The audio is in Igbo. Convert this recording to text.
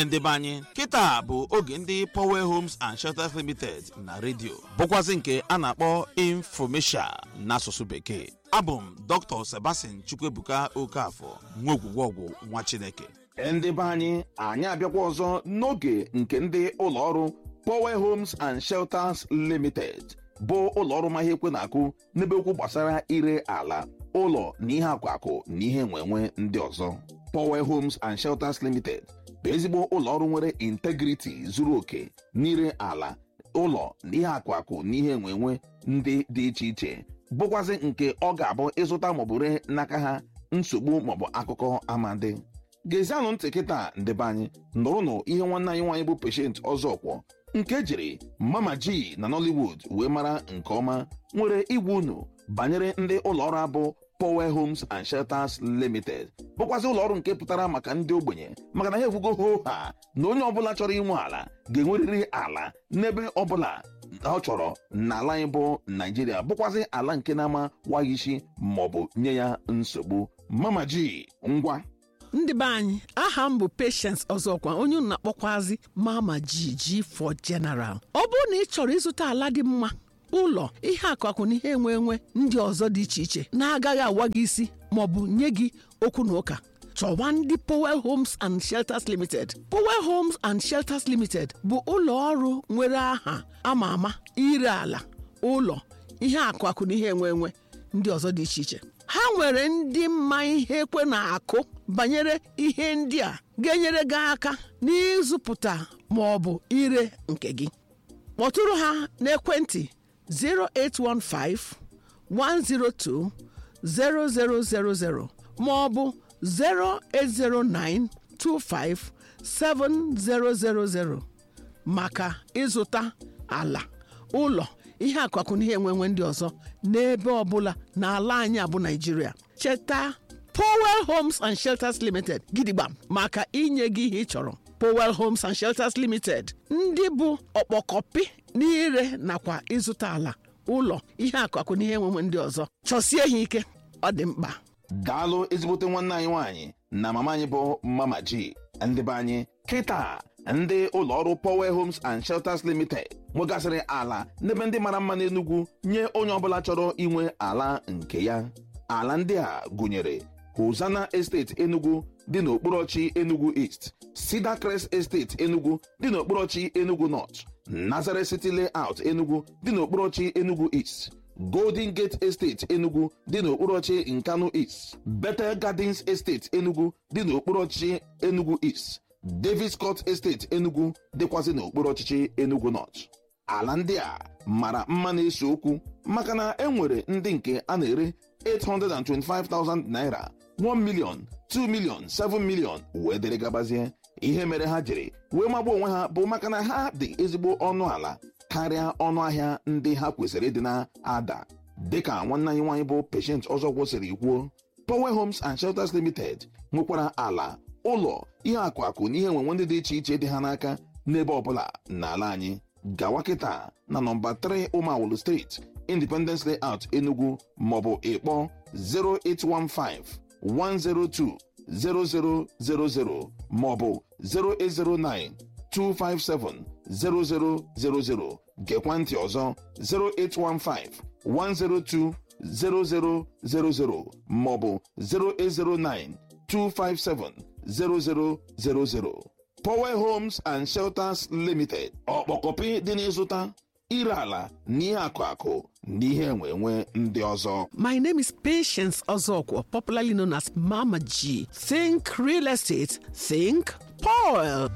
Ndị be anyị, kịta bụ oge ndị Power Homes and Shelters Limited na redio, bụkwazị nke a na-akpọ infomesia n'asụsụ Bekee. Abụ m Dr. Sebastian Chukwuebuka Okafor, nwa ogwugwọgwụ nwa Chineke. Ndị be anyị, anyị abịakwa ọzọ n'oge nke ndị ụlọọrụ Power Homes and Shelters Limited, bụ ụlọọrụ ma ihe ekwe na-akụ n'ebe okwu gbasara ire ala, ụlọ na ihe akụ akụ na ihe nwenwe ndị ọzọ. Power Homes and Shelters Limited bụ ezigbo ụlọọrụ nwere integriti zuru oke n'ire ala, ụlọ na ihe akụ akụ na ihe enwenwe ndị dị iche iche, bụkwazị nke ọ ga-abụ ịzụta maọbụ ree n'aka ha, nsogbu maọbụ akụkọ amadi. Gezianụ ntị kịta, ndebe anyị, nụrụnụ ihe nwanne anyị nwaanyị bụ Patient Ọzọkwọ, nke jiri Mama G na Nollywood wee mara nke ọma, nwere igwe unu banyere ndị ụlọọrụ abụ Power Homes and Shelters Limited, bụkwazị ụlọọrụ nke pụtara maka ndị ogbenye, maka na ha ekwugo hoo ha na onye ọbụla chọrọ inwe ala ga-enwerịrị ala n'ebe ọbụla ọ chọrọ n'ala anyị bụ Naijiria, bụkwazị ala nke na-ama waghị isi maọbụ nye ya nsogbu. Mama G, ngwa. Ndị be anyị, aha m bụ Patience Ọzọkwa, onye unu na-akpọkwazi Mama G, G for General. Ọ bụrụ na ị chọrọ ịzụta ala dị mma, ụlọ, ihe akụakụ na ihe enwe enwe ndị ọzọ dị iche iche na-agaghị awa gị isi maọbụ nye gị okwu na ụka, chọwa ndị Powell Homes and Shelters Limited. Powell Homes and Shelters Limited bụ ụlọ ọrụ nwere aha ama ama ire ala, ụlọ, ihe akụakụ na ihe enwe enwe ndị ọzọ dị iche iche. Ha nwere ndị mma ihe ekwe na-akụ banyere ihe ndị a ga-enyere gị aka n'ịzụpụta ma ọ bụ ire nke gị. Kpọtụrụ ha n'ekwentị 0815 102 0000 ma ọ bụ 0809 25 7000 maka ịzụta ala, ụlọ, ihe akụakụ na ihe enwenwe ndị ọzọ n'ebe ọbụla n'ala anyị abụ Naijiria. Cheta Powell Homes and Shelters Limited, gidigba maka inye gị ihe ị chọrọ. Powell Homes and Shelters Limited, ndị bụ ọkpọkọpị n'ire nakwa ịzụta ala, ụlọ, ihe akụakụ na ihe enwenwe ndị ọzọ. Chọsie ha ike, ọ dị mkpa. Daalụ ezigbote nwanne anyị nwaanyị na mama anyị bụ Mama G. Ndị be anyị, kịta ndị ụlọọrụ Power Homes and Shelters Limited nwegasịrị ala n'ebe ndị mara mma n'Enugu nye onye ọbụla chọrọ inwe ala nke ya. Ala ndị a gụnyere Hosanna Estate Enugu dị n'okpuru Enugu East, Cedar Crest Estate Enugu dị n'okpuru Enugu North, Nazareth City Layout Enugu dị n'okpuru Enugu East, Golden Gate Estate Enugu dị n'okpuru ọchị Nkanu East, Bethel Gardens Estate Enugu dị n'okpuru ọchịchị Enugu East, Davis Court Estate Enugu dịkwazị n'okpuru ọchịchị Enugu North. Ala ndị a mara mma na-ese okwu, maka na e nwere ndị nke a na-ere 825,000 naira, 1 million, 2 million, 7 million wee dịrị gabazie. Ihe mere ha jiri wee magbuo onwe ha bụ maka na ha dị ezigbo ọnụ ala karịa ọnụ ahịa ndị ha kwesịrị ịdị na-ada. Dịka nwanne anyị nwaanyị bụ Patient ọzọ kwụsịrị kwuo, Power Homes and Shelters Limited nwekwara ala, ụlọ, ihe akụ akụ na ihe enwenwe ndị dị iche iche dị ha n'aka n'ebe ọbụla n'ala anyị. Gawa kịta na nọmba 3 Ụmawulu Street, Independence Layout, Enugu, maọbụ ịkpọ 0815 102 0000 maọbụ 0809 257 0000. Gekwa ntị ọzọ: 0815 102 0000 maọbụ 0809 257 0000. Power Homes and Shelters Limited, ọkpọkọpị dị n'ịzụta, ire ala na ihe akụ akụ na ihe enwe enwe ndị ọzọ. My name is Patience Ozokwo, popularly known as Mama G. Think real estate, think Paul.